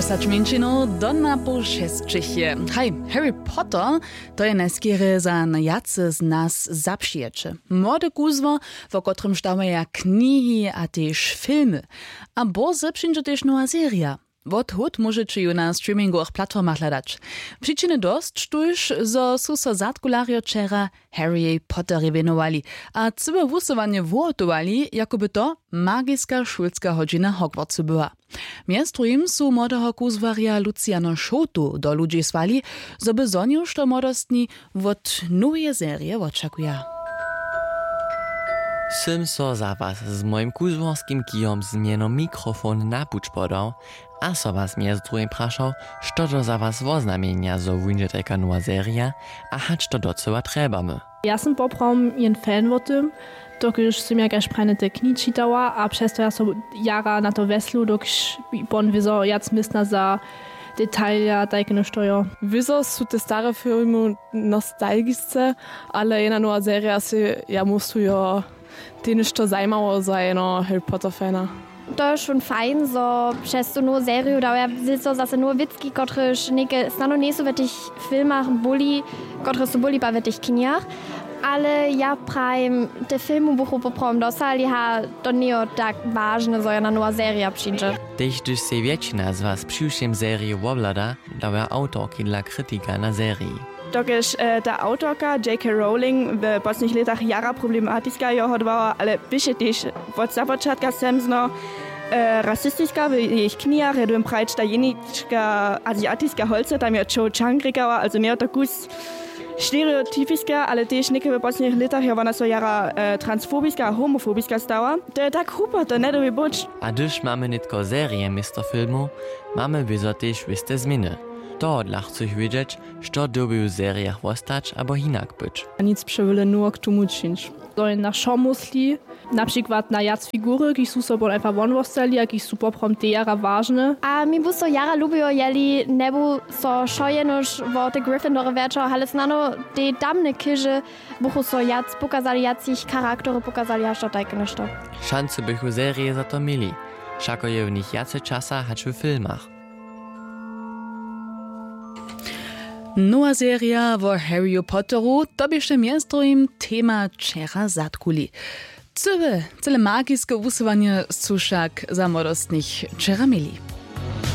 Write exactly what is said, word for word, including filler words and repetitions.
Wstać mjeńšinow do na poł šesćich je. Haj, Harry Potter, to je najskerje za wjace z nas zapřijeće. Młode kuzło, wo kotrymž dawaja knihi a tež filmy. A bórze přińdźe tež nowa serija. Wot hód móžeće ju na streamingowych platformach hladać. Přičiny dosć tuž, zo su so zadkularjo wčera Harryjej Potterjej wěnowali a cyłe wusyłanje wuhotowali, jako by to magiska šulska hodźina Hogwartsu była. Mjez druhim su młodeho kuzłarja Luciano Šołtu do ludźi słali, zo by zhonił, što młodostni wot noweje serije wočakuja. Sym so za was z mojim kuzłorskim kijom z mjenom mikrofon na puć podał a so was mjez druhim prašał, što to za was woznamjenja, zo wuńdźe tajka nowa serija, a hač to docyła trjebamy. Ja sym poprawom jen fan wo tym, dokelž sym ja kaž prajne te knihi čitała a přez to ja so jara na to wjeslu, dokelž pon wězo wjac městna za detalja tajke něšto jo. Wězo su te stare filmy nostalgisce, ale jedna nowa serija sej ja myslu jo, tež něšto zajimało za jeno Harry Potter fana. To je wšón fajn, zo přez tu nowu seriju dawaja wězo zase nowe wěcki, kotrež něke snano njejsu w tych filmach byli, kotrež su byli pak w tych knihach. Ale ja prajim, te filmy buchu poprawom dosali, ha, to njejo tak wažne, zo jedna nowa serija přińdźe. Tež hdyž sej wjetšina z was přiwšěm seriju wobhlada, dawaja awtorki dla kritika na seriji. Dokelž e, ta awtorka J K Rowling w poslednich lětach jara problematiska jeho dbała, ale běše tež wot započatka semzno e, rasistiska w jejich knihach, ja dym prajć ta jenička aziatiska holce, tam je Cho Chang rěkała, also njejo to kus stereotypiska, ale tež něke w poslednich lětach je wona so jara e, transfobiska a homofobiska stała. To je tak hrupo, to njedobi być. A hdyž mamy nětko serije město filmow, mamy wězo tež wěste změny. Tohodla chcych wědźeć, što dyrbi w serijach wostać abo hinak być. A nic přewjele nowo k tomu čińć. To je na wšo mysli, na přikład na wjac figury, kiž su so pon einfach won wostali a kiž su poprawom te jara wažne. A mi bu so jara lubiło, jeli njebu so wšo jenož wo te Gryffindore wjerćał, ale snano te tamne chěže buchu so wjac pokazali, wjac jich charaktery pokazali, hač to tajke něšto. Šancu bychu serije za to měli, wšako je w nich wjace časa hač w filmach. Nowa serija wo Harryju Potteru, to běše mjez druhim tema wčera zadkuli. Cyle, cyle magiske wusyłanje su wšak za młodostnych wčera měli.